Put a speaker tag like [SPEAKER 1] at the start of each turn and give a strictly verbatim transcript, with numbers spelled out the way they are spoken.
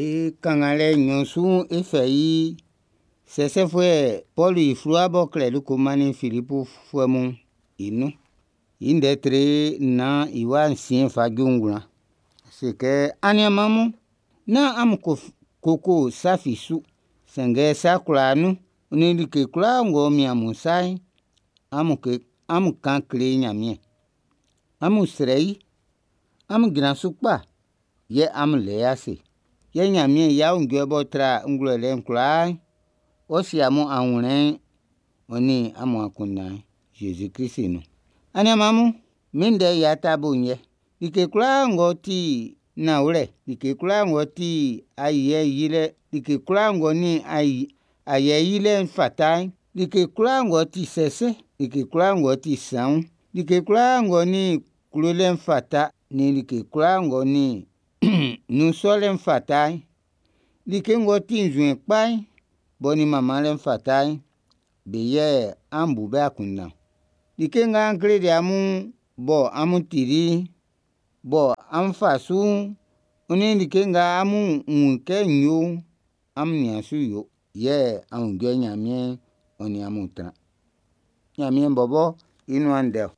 [SPEAKER 1] E kannganlɛ nnyɔn su'n, e fɛ i Sɛsɛfuɛ Pɔlu i fluwa b'ɔ klɛli ko mannin Filipfuɛ mun'n i nun. I ndɛ tre nnan i wa nsiɛn fa ju ngwlan. Ɔ se kɛ, aniɛnman mun, nán amun koko sa fi su, sanngɛ sa kwlaa nun, ɔ nin like kwlaa ng'ɔ mian amun sa'n, amun ke amun kan kle Nyanmiɛn. Amun srɛ i, amun jran su kpa, yɛ amun lɛ i ase. Yɛ Nyanmiɛn i aunjuɛ b'ɔ tra ngwlɛlɛ'n kwlaa'n, ɔ ʼsie amun anwlɛn'n ɔ nin amun akunndan'n Zezi-Krist nun. Aniɛnman mun, min ndɛ i atabo'n yɛ: Like kwlaa ng'ɔ ti nanwlɛ, like kwlaa ng'ɔ ti ayɛ yilɛ, like kwlaa ng'ɔ nin ayɛ yilɛ'n fata'n, like kwlaa ng'ɔ ti sɛsɛ, like kwlaa ng'ɔ ti saun'n, like kwlaa ng'ɔ nin klolɛ'n fata nin like kwlaa ng'ɔ nin nun sɔlɛ'n fata'n, like ng'ɔ ti nzuɛn kpa'n, b'ɔ nin manmanlɛ'n fata'n, be yɛ an bu be akunndan. Like nga n kleli amun bɔ amun tili'n, bɔ an fa su'n, ɔ nin like nga amun wun kɛ n yo'n, amun nian su yo, yɛ aunjuɛ Nyanmiɛn'n ɔ nin amun ʼtran. Nyanmiɛn bɔbɔ i nuan ndɛ-ɔ.